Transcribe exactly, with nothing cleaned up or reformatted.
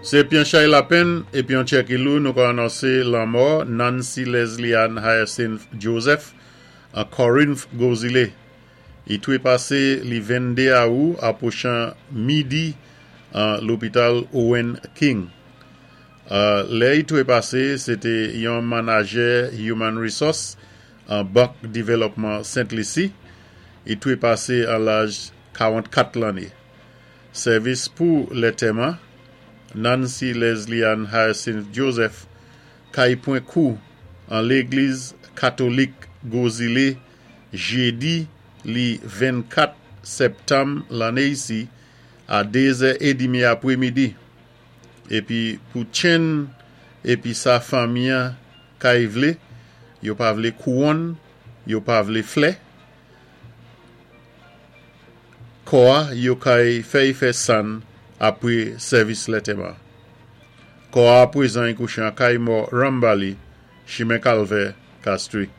Sé pi yon chay lapenn épi yon tchèki lou nou ka anonsé lanmò Nancy Leslie Ann Hyacinth Joseph an Corinth, Gros-Islet. I twépasé li venndé awou apwochan midi an lopital Owen King. Euh, lè i twépasé, sé té yon manadjè Human Resource an Bank Dévelopman Sent Lisi. I twépasé an laj karannkat lanné. Sèvis pou lantèman, Nancy Leslie Ann Hyacinth Joseph kay pwan kou an légliz katolik Gros-Islet jédi li vennkat septanm lanné isi a dézè édmi apwémidi. Épi pou tchenn épi sa fanmi-an kay vlé, yo pa vlé kouwòn, yo pa vlé flè. Kò-a yo kay fè-y fè sann apwé sèvis lantèman. Kò-a apwézan i kouché an kay mò Rambali, chimen Kalvè, Castries.